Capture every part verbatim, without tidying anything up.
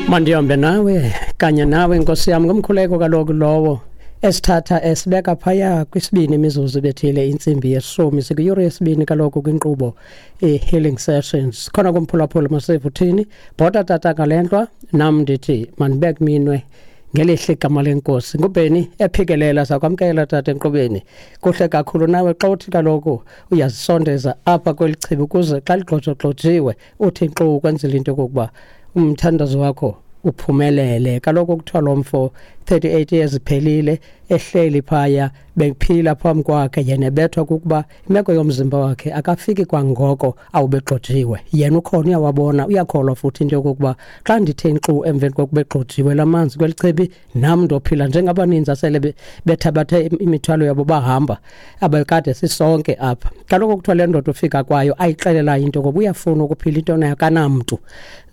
Mandihambe nawe kanye nawe nkosi yam, ngumkhuleko kaloku lowo esithatha esibeka phaya kwisibini imizuzu bethile intsimbi yeshumi, sikwiyure yesibini kaloku kwinkqubo i-Healing Sessions. Khona kumphulaphula masive uthini bhota tata ngale ntlwa, nam ndithi mandibeke minwe ngelihle igama lenkosi. Ngubheni ephikelela sakwamkela tata enkqubeni. Kuhle kakhulu nawe xa uthi kaloku uyazisondeza apha kweli chibi ukuze xa ligxojogxojiwe uthi nkxu ukwenzela into yokokuba umthandazo wakho uphumelele. Kaloku kuthiwa lo mfo thirty-eight years iphelile ehleli phaya, bephila phambi kwakhe, yena ebethwa kukuba imeko yomzimba wakhe akafiki kwangoko awubegxojiwe. Yena ukhona uyawabona, uyakholwa futhi into yokokuba xa ndithe nkxu emveni kokuba egxojiwe la manzi kweli chibi, nam ndophila njengabaninzi asele bethabathe imithwalo yabo bahamba abekade sisonke apha. Kaloku kuthiwa le ndoda ufika kwayo ayixelelayo into yokokuba uyafuna ukuphila into nayo akanamntu.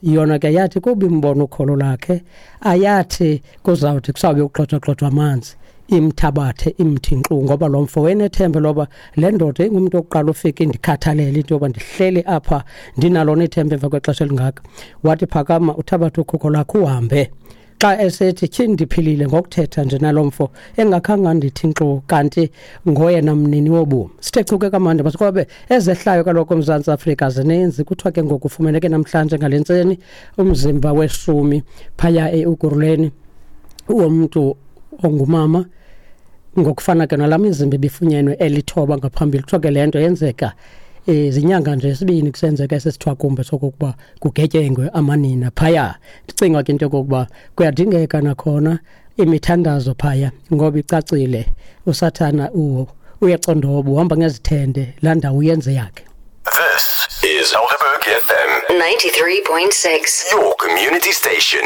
Yona ke yathi kuba imbona ukholo lakhe, ayathi kuzawuthi kusawube kugxojwagxojwa amanzi imthabathe imthi nkxu, ngoba lo mfo wenethemba loba le ndoda ingumntu oqala ufika indikhathalele into yoba ndihleli apha ndinalona ithemba emva kwexesha elingaka. Wathi phakama uthabathe ukhukho lakho uhambe. Xa esethi tyhini ndiphilile ngokuthetha nje nalo mfo engakhange andithi nkxu, kanti ngoyena mnini wobomi. Sithe chuke kamandi masikwabe ezehlayo kaloku eMzantsi Afrika zininzi. Kuthiwa ke ngoku ufumaneke namhlanje ngale ntseni umzimba weshumi phaya e-Ekurhuleni womntu ongumama, ngokufana ke nalaa mizimba ibifunyenwe elithoba ngaphambili. Kuthiwa ke le nto yenzeka zinyanga nje esibini kusenzeka esisithwakumbe sokokuba kugetyengwe amanina phaya. Ndicinga ke into yokokuba kuyadingeka nakhona imithandazo phaya, ngoba icacile usathana uyacondoba, uhamba ngezithende, laa ndawo uyenze yakhe. This is Helderberg F M ninety-three point six, your community station.